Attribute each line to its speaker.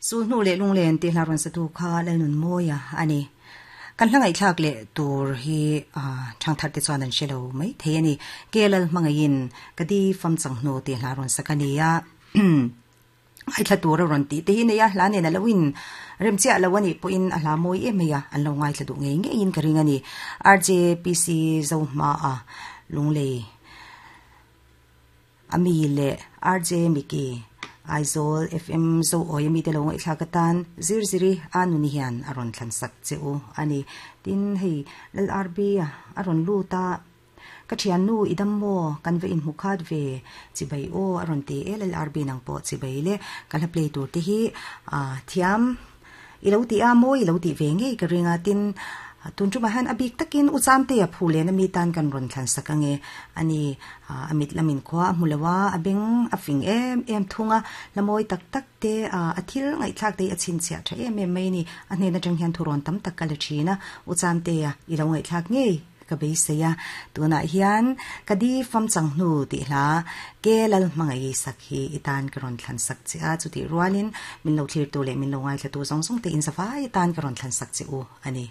Speaker 1: Sulhnu leh lunglen tih hla rawn satu kha Lalnunmawia a ni. Kan hla ngaihthlak leh tur hi thangthar te chuan an hre lo mai thei a ni. Kelal hmangaihin ka di fam chang hnu tih hla rawn sak a ni a. Ngaithla tur a rawn tih te hi nei a, hla nen a lo in rem chiah lo a nih pawhin a hla mawi em mai a, an lo ngaithla duh ngei ngeiin ka ring a ni. RJPC Zohmaa Lunglei A mi leh RJ Micky, Aizawl FM Zo Awi ami te lo ngaihthlak atan zir ziri a nuni hian a rawn thlan sak che u a ni. Tin, hei LRB a rawn lut a, Ka thiannu i dam maw? Kan va inhmu khat ve chibai aw a rawn ti e LRB nang pawh chibai le ka hla play tur te hi thiam I lo ti a mawi i lo tih ve ngei ka ring a, tin, tun tumah hian a bik takin U Chamtea phu len a mi tan kan rawn thlan sak ange. Ani, a mit lamin khua a hmu lo a, a beng a fing em em thung a, hla mawi tak tak te, a thil ngaihthlak te hi a chhinchhiah tha em em mai a ni. A hnen atang hian thurawn tam tak ka la thin a, U Chamtea i lo ngaihthlak ngei. Ka beisei a, tunah hian ka di fam chang hnu tih hla ke lal hmangaih sak hi i tan ka rawn thlan sak che a, chutih rualin min lo thlirtu leh min lo ngaithlatu zawng zawng te in zavai atan ka rawn thlan sak che u a ni.